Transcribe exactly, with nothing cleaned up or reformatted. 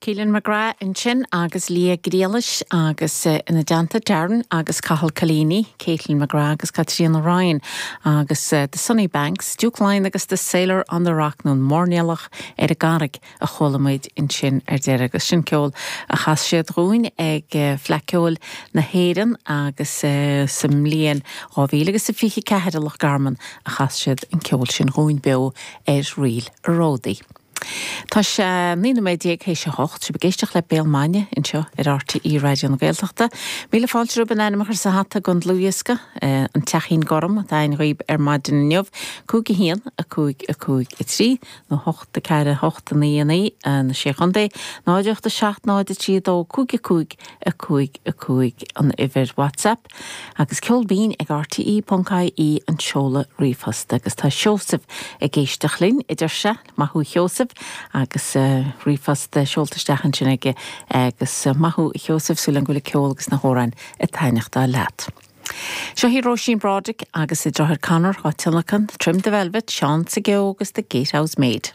Keelan McGrath ansin agus Lia Griallais agus uh, ina dteannta Darren agus Cathal Collini, Caitlin McGrath agus Katrina Ryan agus uh, the Sunny Banks, Duke Line agus the Sailor on the Rock nó Mairnéalach ar an gCarraig a chuala muid ansin ar deireadh agus sin ceol a chas siad dúinn ag uh, Fleadh Cheoil na hÉireann agus uh, sa mbliain dhá mhíle agus a fiche ceathair i Loch Garman a chas siad an ceol sin dúinn beo ar Ríl Ródaí. Tá sé naoi nóiméad déag théis a hocht sibh ag éisteacht le Béal Maidine anseo ar RTÉ Raidió na Gaeltachta. Míle fáilte romhaibh an ainm a chur sa hata don dlúthdhiosca an Teachín Gorm atá againn dhaoibh ar maidin inniu, cúig a haon a cúig a cúig a trí nó hocht a ceathair hocht a naoi a naoi na sé chontae, náid ocht a seacht náid a trí dó cúig a cúig a cúig a cúig an uimhir WhatsApp, agus ceol binn ag RTE.ie an seoladh ríomhphost agus tá Seosamh ag éisteacht linn idir se maith thú Sheosamh agus uh, ríomhphost seolta isteach ansin aige agus uh, maith thú Sheosamh súil agam go bhfuil ceol agus na hamhráin ag taitneamh leat. Seo í Róisín Broderick agus a deartháir Conor á tionlacan, Trim the Velvet, Seán sa agus the Gatehouse Maid.